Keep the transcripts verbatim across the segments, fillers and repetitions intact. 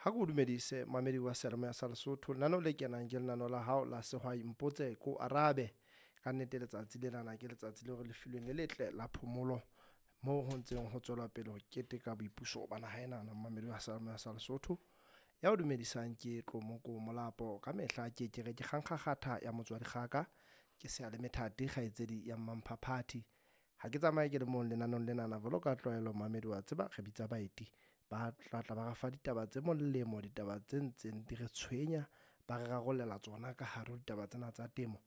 Ha ke o dumedise mamedi wa seyalemoya sa Lesotho. Lenaneo le kenang ke lenaneo la hao la Sehwai Mpotse Ko Arabe. Ka nnete letsatsi lenana ke letsatsi leo re le filweng le letle la phomolo moo ho ntseng ho tswelwa pele ho keteka boipuso ba naha enana mamedi wa seyalemoya sa Lesotho. Ya o dumedisang ke Tlomoko Molapo. Ka mehla ke ke re ke kgankgakgatha ya motswadi kgaka. Ke seyalemethati kgaitsedi ya Mmamphaphathi. Ha ke tsamaye ke le mong lenaneong lenana jwalo ka tlwaelo mamedi wa tseba re bitsa baeti ba tla tla ba re fa ditaba tse molemo, ditaba tse ntseng di re tshwenya, ba re rarollela tsona ka hare ho ditaba tsena tsa temo.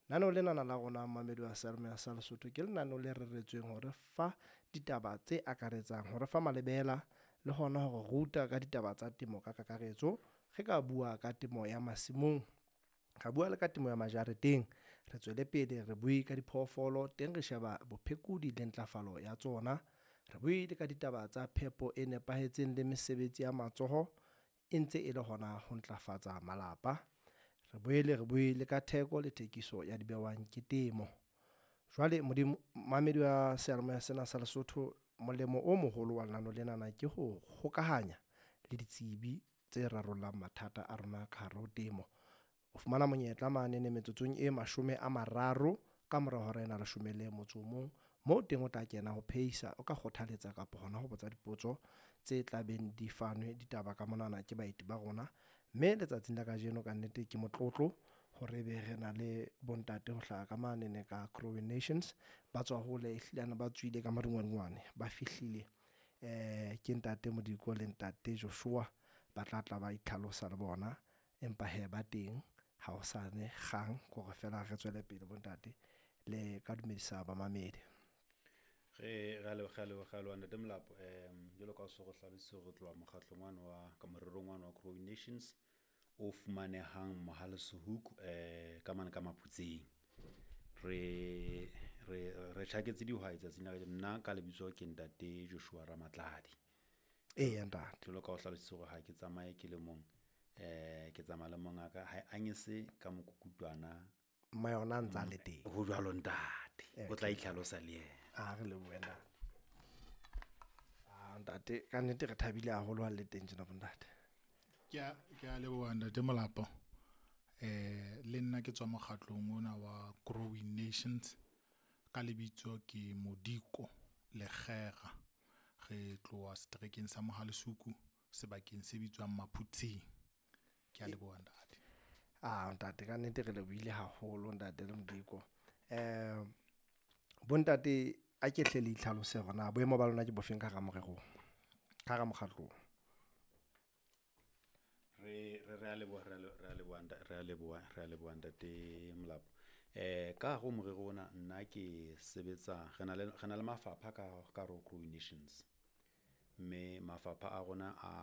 Lenaneo lenana la rona mamedi wa seyalemoya sa Lesotho ke lenaneo le reretsweng hore fa ditaba tse akaretsang, hore fa malebela le hona hore ruta ka ditaba tsa temo ka kakaretso. Re ka bua ka temo ya masimong, ra bua le ka temo ya majareteng, re tswele pele re bue ka diphoofolo, teng re sheba bophekodi le ntlafalo ya tsona. Re buile ka ditaba tsa phepo e nepahetseng le mesebetsi ya matsoho e ntse e le hona ho ntlafatsa malapa. Re boele re bue le ka theko le thekiso ya di behwang ke temo. Jwale Modimo mamedi wa seyalemoya sena sa Lesotho, molemo o moholo wa lenaneo lenana ke ho hokahanya le ditsebi tse rarollang mathata a rona ka hare ho temo. O fumana monyetla manene metsotsong e mashome a mararo ka mora hora ena leshome le motso o mong. Moo teng o tla kena ho phehisa, o ka kgothaletsa kapa hona ho botsa dipotso tse tla beng di fanwe ditaba ka monana ke baeti ba rona. Mme letsatsing la kajeno ka nnete ke motlotlo hore ebe re na le bontate ho hlaha ka manene ka Growing Nations. Ba tswa hole ehlilane ba tswile ka madungwadungwane, ba fihlile eh ke ntate Modiko le ntate Joshua ba tla tla ba itlhalosa le bona. Empa hee ba teng ha o sane kgang ke hore feela re tswele pele bontate le ka dumedisa bamamedi. Re re a leboha re a leboha re a leboha ntate Molapo. Um jwalo ka o so re hlalositse hore re tloha mokgatlong wane wa ka morerong wane wa Growing Nations o fumanehang Mohale's Hoek eh ka mane ka Maphutseng. Re re re tjhaketse dihwai tsatsing la kajeno. Nna ka lebitso ke ntate Joshua Ramatladi. Eya ntate. Jwalo ka o hlalositse hore ha ke tsamaye ke le mong, eh ke tsamaya le mongaka hae anyese ka mokukutwana Mma yona a ntsa le teng. Ho jwalo ntate. O tla itlhalosa le yena. A re lebohe ntate. Ah ntate, ka nnete re thabile haholo ha le teng tjena bontate. Ke a ke a leboha ntate Molapo. Eh le nna ke tswa mokgatlong ona wa Growing Nations ka lebitso ke Modiko Lekgera. Re tloha seterekeng sa Mohale's Hoek sebakeng se bitswang Maphutseng. Ke a leboha ntate. Ah ntate ka nnete re lebohile haholo ntate le Modiko. Eh bontate a ke hle le itlhalose hore na boemo ba lona ke bofeng ka hara morerong, ka hara mokgatlong. Re re re a leboha re a re a leboha re a leboha re a leboha ntate Molapo. Eh ka hare ho morero ona nna ke sebetsa re na le re na le mafapha ka ka hare ho Growing Nations. Mme mafapha a rona a